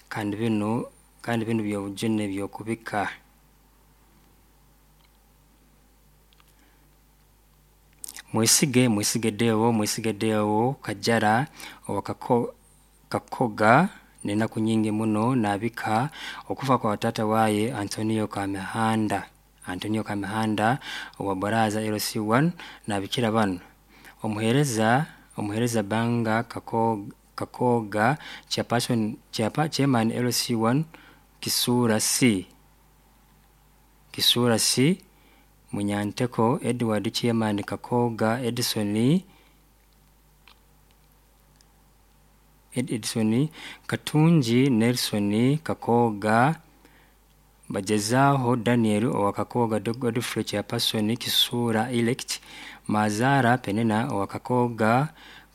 Kandi binu kandi binu byobujune byokubika. Mwesige Mwesige Deo Mwesige Deo Kajara owa Kakoga n'enaku nyingi muno naabika okufa kwa taata waaye Antonio Kamihanda Antonio Kamihanda owa Baraza LC1 naabikira banu Omuheereza Omuheereza Banga Kakooga Chairperson Chairman LC1 Kisuura C Kisuura C Munyanteko Edward Chairman Kakooga Edson Edson Katungi Nelson Kakooga Bagyezaaho Daniel owa Kakooga Godfrey Chairperson Kisuura Elect Mazaara Penina owa Kakooga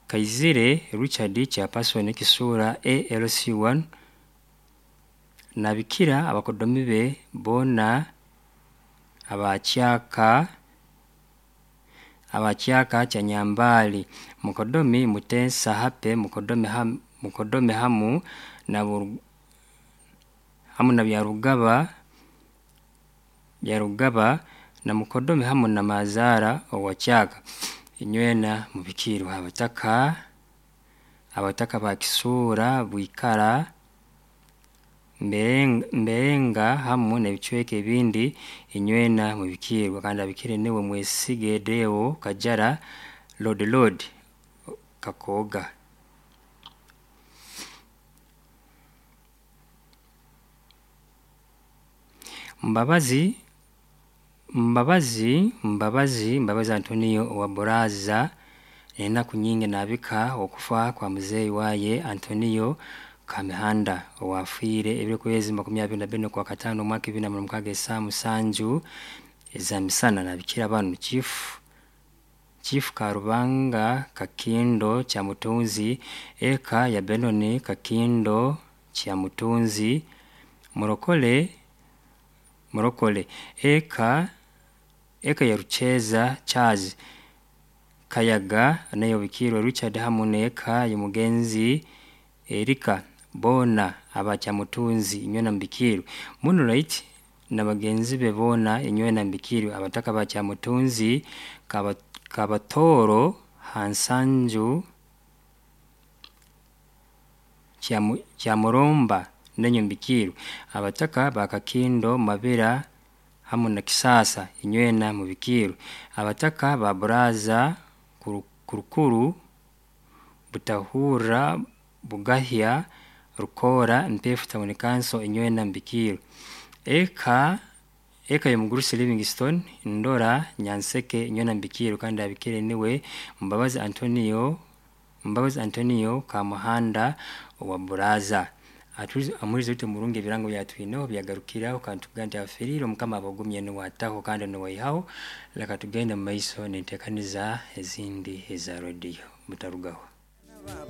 Kaizire Richard Chairperson Kisuura A LC1 Nabikira abakodomi be boona aba Kyaka aba Kyaka kya Nyambaali Mukodomi Muteesa Happy Mukodomi Mukodomi hamu na hamu na Byarugaba Byarugaba na Mukodomi hamu na Mazaara owa Kyaka. Inywena mubikiirwe abataka abataka ba Kisuura Bwikara Mberenga hamu n'ebicweka ebindi inywena mubikiirwe kandi abikire niwe Mwesige Deo Kajara Lord Lord Kakooga. Mbabazi Mbabazi Mbabazi Mbabazi Antonio owa Buraza enaku nyingi naabika okufa kwa muzeeyi waaye Antonio Kamihanda owaafiire ebiro 24 Okwakataano omwaka 2026 esaaha 7 ez'amisana naabikira banu Chief Chief Karubanga Kakindo Kyamutunzi eka ya Benoni Kakindo Kyamutunzi Murokole Murokole eka eka ya Rukyeza Charles Kayaga nayo obikiirwe Richard hamu n'eka y'omugenzi Erika boona aba Kyamutunzi inywena mubikiirwe. Moonlight na bagenzi be boona inywena mubikiirwe. Abataka ba Kyamutunzi Kabatooro ha Nsanju Kyamuromba nainywe mubikiirwe. Abataka ba Kakindo Mabira hamu na Kisaasa inywena mubikiirwe. Abataka ba Buraza Kurukuru Butahurra Bugahya Rukoora Mpeefu Town Council inywena mubikiirwe. Eka eka y'omugurusi Livingstone Ndora Nyanseke inywena mubikiirwe kandi abikire niwe Mbabazi Antonio Mbabazi Antonio Kamuhanda owa Buraza. Amuhurize oti omurungi ebirango byatwineho byagarukiraho kandi tukugambe nti afiriire Omukama abagumye niwe ataho kandi niwe aihaho. Leka tugende omu maiso n'enteekaniza ezindi eza rediyo mutarugaho.